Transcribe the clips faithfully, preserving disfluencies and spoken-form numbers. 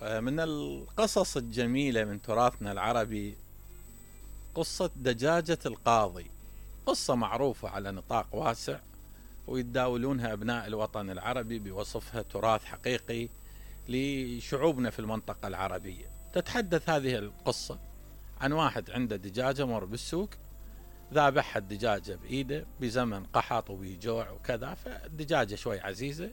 من القصص الجميلة من تراثنا العربي قصة دجاجة القاضي. قصة معروفة على نطاق واسع ويتداولونها أبناء الوطن العربي بوصفها تراث حقيقي لشعوبنا في المنطقة العربية. تتحدث هذه القصة عن واحد عنده دجاجة مر بالسوق، ذابحها الدجاجة بإيده بزمن قحط وبيجوع وكذا، فالدجاجة شوي عزيزة.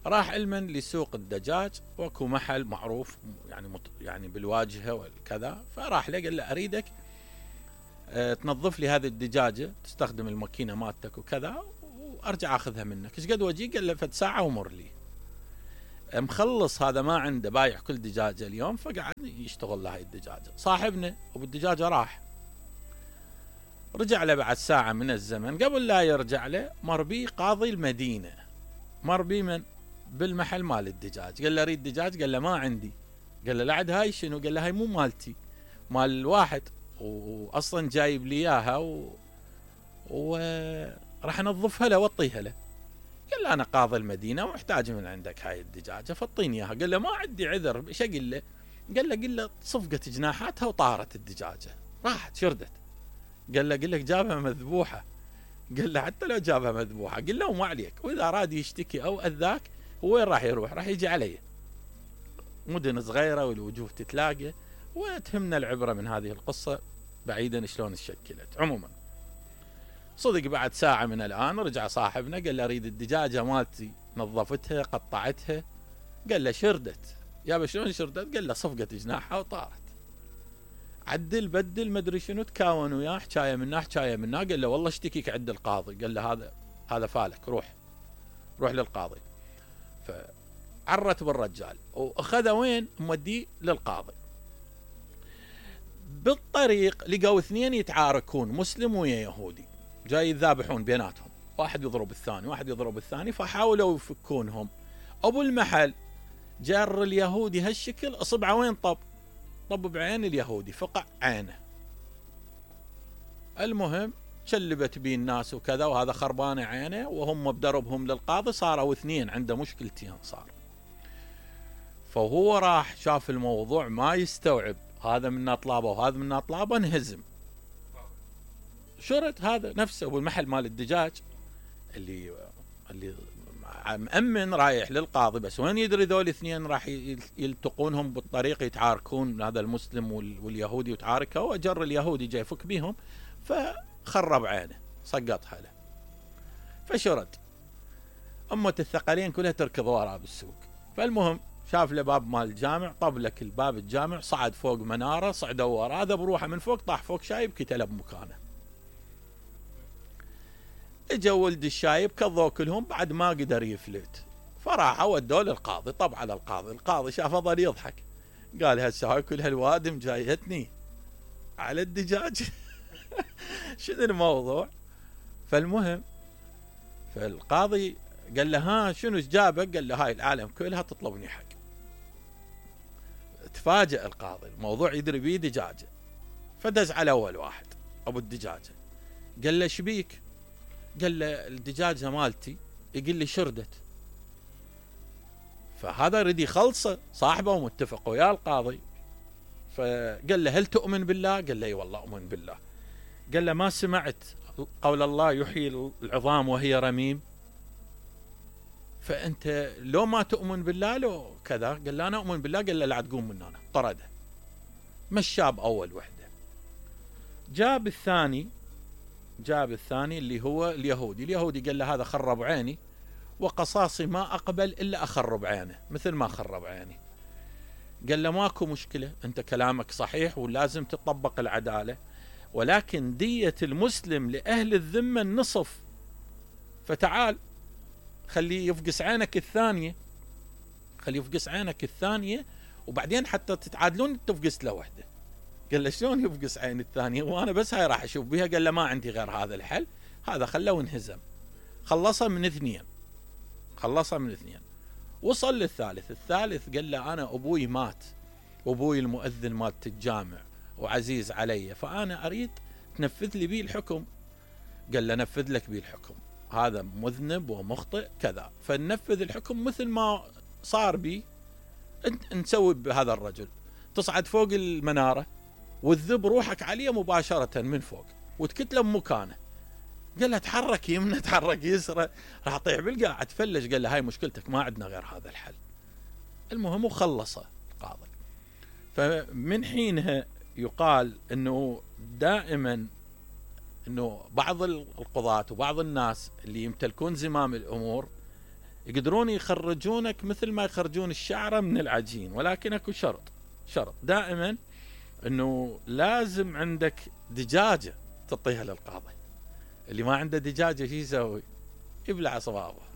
راح علما لسوق الدجاج، واكو محل معروف يعني مط... يعني بالواجهة والكذا، فراح له قال له أريدك أه تنظف لي هذه الدجاجة، تستخدم الماكينة مالتك وكذا، وأرجع أخذها منك. إيش قد وجي؟ قال له فد ساعة ومر لي. مخلص هذا ما عنده، بايع كل دجاجة اليوم، فقعد يشتغل لهاي الدجاجة. صاحبنا وبالدجاجة راح رجع له بعد ساعة من الزمن. قبل لا يرجع له مر بي قاضي المدينة، مر بي من بالمحل مال الدجاج. قال له أريد دجاج، قال له ما عندي. قال له لعد هاي شنو؟ قال له هاي مو مالتي، مال الواحد، وأصلا جايب لي إياها و... وراح أنظفها له وأعطيها له. قال له أنا قاضي المدينة ومحتاج من عندك هاي الدجاجة فاعطيني إياها. قال له ما عندي عذر، إيش أقول له؟ قال له قل له صفقت جناحاتها وطارت الدجاجة، راحت شردت. قال له قل لك جابها مذبوحة. قال له حتى لو جابها مذبوحة قل له ما عليك، وإذا أراد يشتكي أو أذاك وين راح يروح؟ راح يجي علي. مدن صغيرة والوجوه تتلاقى، وتهمنا العبرة من هذه القصة بعيدا شلون تشكلت. عموما صدق بعد ساعة من الآن رجع صاحبنا قال له أريد الدجاجة مالتي، نظفتها قطعتها. قال له شردت. يا شلون شردت؟ قال له صفقت جناحها وطارت. عدل بدل مدري شنو، تكاون وياه حكايه منه حكايه منه. قال له والله اشتكيك عند القاضي. قال له هذا هذا فالك، روح روح للقاضي. فعرت بالرجال واخذه وين؟ موديه للقاضي. بالطريق لقوا اثنين يتعاركون، مسلم ويا يهودي، جاي يذابحون بيناتهم، واحد يضرب الثاني واحد يضرب الثاني، فحاولوا يفكونهم. ابو المحل جر اليهودي هالشكل، اصبعه وين طب؟ طب بعين اليهودي، فقع عينه. المهم شلبت بيه الناس وكذا، وهذا خربان عينه، وهم بدربهم للقاضي صاروا اثنين عنده مشكلتين صار. فهو راح شاف الموضوع ما يستوعب، هذا منا طلابه وهذا منا طلابه، انهزم. شرد هذا نفسه ابو المحل مال الدجاج اللي اللي مأمن رايح للقاضي، بس وين يدري ذول اثنين راح يلتقونهم بالطريق يتعاركون، هذا المسلم واليهودي يتعاركوا، وجر اليهودي جاي يفك بيهم فخرب عينه سقطها له. فشرد أمة الثقلين كلها تركض وراه بالسوق. فالمهم شاف له باب مال الجامع، طب لك الباب الجامع، صعد فوق منارة، صعدوا وراه، هذا بروحه من فوق طاح فوق شايب كتله بمكانه. اجوا ولد الشايب كضوا كلهم، بعد ما قدر يفلت، فراحوا ودوه للقاضي. طب على القاضي، القاضي شافه ظل يضحك، قال هسه هاي كل هالوادم جايتني على الدجاج شنو الموضوع؟ فالمهم فالقاضي قال له ها شنو جابك؟ قال له هاي العالم كلها تطلبني حق. تفاجأ القاضي، الموضوع يدري بيه دجاجة، فدز على اول واحد ابو الدجاجة، قال له شبيك؟ قال له الدجاجة مالتي، يقول لي شردت. فهذا رد يخلصه، صاحبه ومتفق ويا القاضي. فقال له هل تؤمن بالله؟ قال له اي والله اؤمن بالله. قال له ما سمعت قول الله يحيي العظام وهي رميم؟ فانت لو ما تؤمن بالله لو كذا. قال له انا اؤمن بالله. قال له لا تقوم من هنا، طرده. مشى باول وحده، جاب الثاني جاب الثاني اللي هو اليهودي. اليهودي قال له هذا خرب عيني، وقصاصي ما أقبل إلا أخرب عينه مثل ما خرب عيني. قال له ماكو مشكلة، أنت كلامك صحيح ولازم تطبق العدالة، ولكن دية المسلم لأهل الذمة النصف، فتعال خليه يفقس عينك الثانية، خليه يفقس عينك الثانية وبعدين حتى تتعادلون تفقس له وحده. قال له شلون يفقس عين الثانية وانا بس هاي راح اشوف بها؟ قال له ما عندي غير هذا الحل. هذا خلاه وانهزم، خلصها من اثنين خلصها من اثنين وصل للثالث. الثالث قال له انا ابوي مات، وابوي المؤذن مالت الجامع وعزيز علي، فانا اريد تنفذ لي بيه الحكم. قال له نفذ لك بيه الحكم، هذا مذنب ومخطئ كذا، فننفذ الحكم مثل ما صار بي انت نسوي بهذا الرجل، تصعد فوق المناره وتذب روحك عليه مباشره من فوق وتكتله بمكانه. قال له تحرك يمنى تحرك يسرى راح اطيح بالقاع تفلش. قال له هاي مشكلتك، ما عندنا غير هذا الحل. المهم وخلصه القاضي. فمن حينها يقال انه دائما انه بعض القضاة وبعض الناس اللي يمتلكون زمام الامور يقدرون يخرجونك مثل ما يخرجون الشعرة من العجين، ولكن اكو شرط شرط دائما انه لازم عندك دجاجة تعطيها للقاضي. اللي ما عنده دجاجة شو يسوي؟ يبلع صبابه.